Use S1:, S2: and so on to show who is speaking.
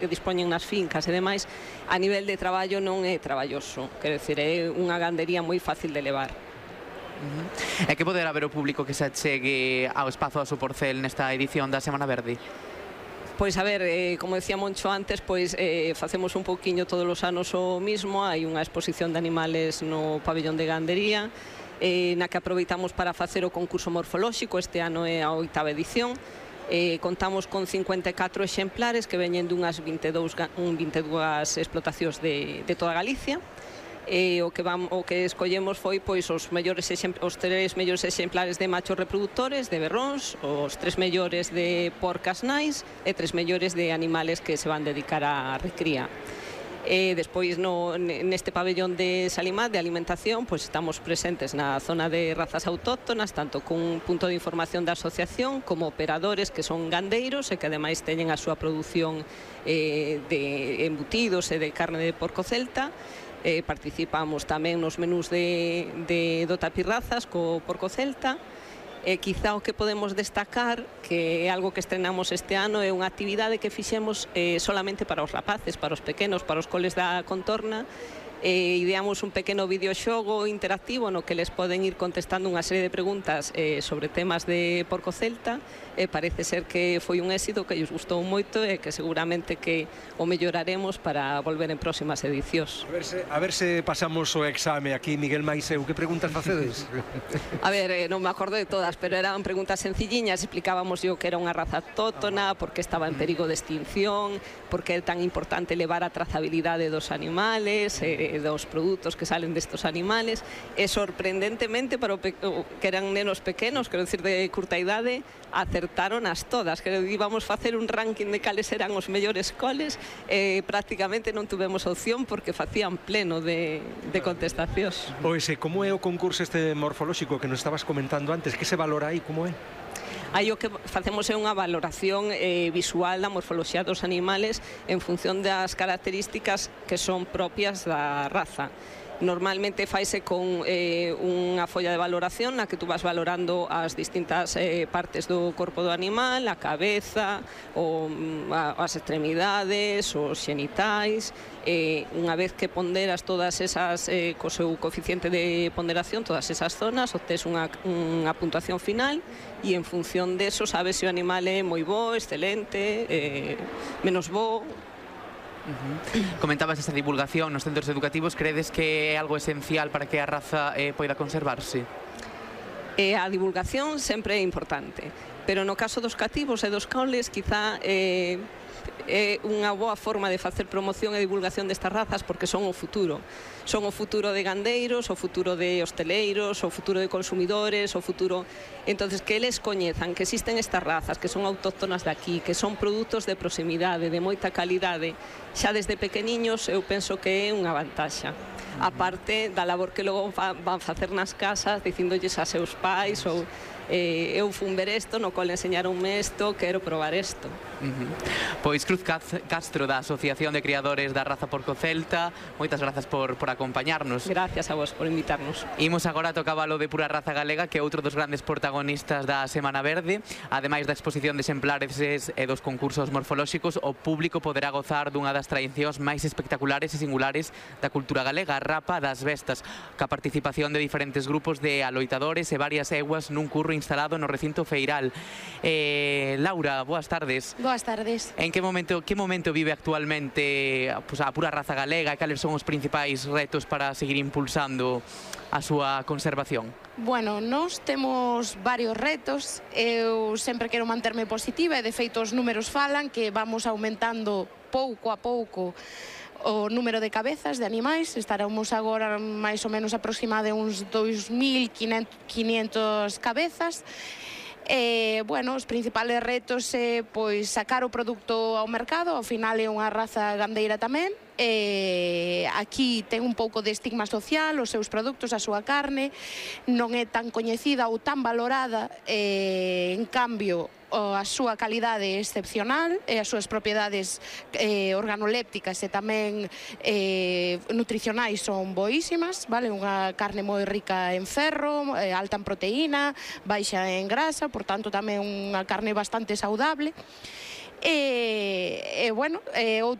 S1: que dispoñen nas fincas e demais, a nivel de traballo non é traballoso, quero dicir, é unha gandería moi fácil de levar.
S2: E que poderá ver o público que se achegue ao espazo da Soporcel nesta edición da Semana Verde?
S1: Pois a ver, como decía Moncho antes, pois facemos un pouquiño todos os anos o mismo, hai unha exposición de animales no pabellón de gandería, na que aproveitamos para facer o concurso morfolóxico, este ano é a 8ª edición. Contamos con 54 exemplares que veñen dunhas 22 explotacións de toda Galicia. O que escollemos foi pois os 3 mellores exemplares de machos reproductores, de berróns, os 3 mellores de porcas nais e 3 mellores de animales que se van dedicar á recría. Despois neste pabellón de Salimat de alimentación pois estamos presentes na zona de razas autóctonas, tanto cun punto de información da asociación como operadores que son gandeiros e que ademais teñen a súa produción de embutidos e de carne de porco celta. Participamos tamén nos menús do tapirrazas co porco celta. Quizá o que podemos destacar, que é algo que estrenamos este ano, é unha actividade que fixemos solamente para os rapaces, para os pequenos, para os coles da contorna. Ideamos un pequeno videoxogo interactivo no que les poden ir contestando unha serie de preguntas sobre temas de porco celta. Parece ser que foi un éxito, que lles gustou moito e que seguramente que o melloraremos para volver en próximas edicións.
S3: A ver se pasamos o exame aquí, Miguel Maiseu. Que preguntas facedes?
S1: A ver, non me acordo de todas, pero eran preguntas sencilliñas. Explicábamos yo que era unha raza autóctona, por que estaba en perigo de extinción, por que é tan importante levar a trazabilidade dos animales, dos produtos que salen destos animales, e sorprendentemente para que eran nenos pequenos, quero dicir de curta idade, acertaron as todas. Quero dicir, íbamos facer un ranking de cales eran os mellores coles e prácticamente non tuvemos opción porque facían pleno de contestacións.
S3: Pois, como é o concurso este morfolóxico que nos estabas comentando antes? Que se valora aí? Como é?
S1: Aí o que facemos é unha valoración visual da morfoloxía dos animales en función das características que son propias da raza. Normalmente faise con unha folla de valoración na que tú vas valorando as distintas partes do corpo do animal, a cabeza, as extremidades, os xenitais. Unha vez que ponderas todas esas, co seu coeficiente de ponderación, todas esas zonas, obtés unha puntuación final e en función deso sabes se o animal é moi bo, excelente, menos bo.
S2: Comentabas esta divulgación nos centros educativos. Credes que é algo esencial para que a raza poida conservarse?
S1: A divulgación sempre é importante, pero no caso dos cativos e dos coles quizá é unha boa forma de facer promoción e divulgación destas razas porque son o futuro. Son o futuro de gandeiros, o futuro de hosteleiros, o futuro de consumidores, o futuro... Entonces, que eles coñezan que existen estas razas, que son autóctonas de aquí, que son produtos de proximidade, de moita calidade, xa desde pequeniños, eu penso que é unha vantaxa. A parte da labor que logo van facer nas casas, dicíndolles a seus pais ou... eu fun ver isto, no cole enseñaronme isto, quero probar isto.
S2: Pois Cruz Castro, da Asociación de Criadores da Raza Porco Celta, moitas grazas por acompañarnos.
S1: Gracias a vos por invitarnos.
S2: Imos agora a tocábalo de Pura Raza Galega, que é outro dos grandes protagonistas da Semana Verde. Ademais da exposición de exemplares e dos concursos morfolóxicos, o público poderá gozar dunha das tradicións máis espectaculares e singulares da cultura galega, a rapa das bestas, ca participación de diferentes grupos de aloitadores e varias eguas nun curro instalado no recinto feiral. Laura, boas tardes.
S4: Boas tardes.
S2: En que momento vive actualmente a Pura Raza Galega e cales son os principais retos para seguir impulsando a súa conservación?
S4: Bueno, nós temos varios retos. Eu sempre quero manterme positiva e de feito os números falan que vamos aumentando pouco a pouco o número de cabezas de animais. Estaremos agora máis ou menos aproximada de uns 2.500 cabezas. Bueno, os principales retos é pois sacar o produto ao mercado. Ao final é unha raza gandeira tamén. Aquí ten un pouco de estigma social, os seus produtos, a súa carne non é tan coñecida ou tan valorada, en cambio a súa calidade é excepcional e as súas propiedades organolépticas e tamén nutricionais son boísimas, vale? Unha carne moi rica en ferro, alta en proteína, baixa en grasa, por tanto tamén unha carne bastante saudable. E bueno,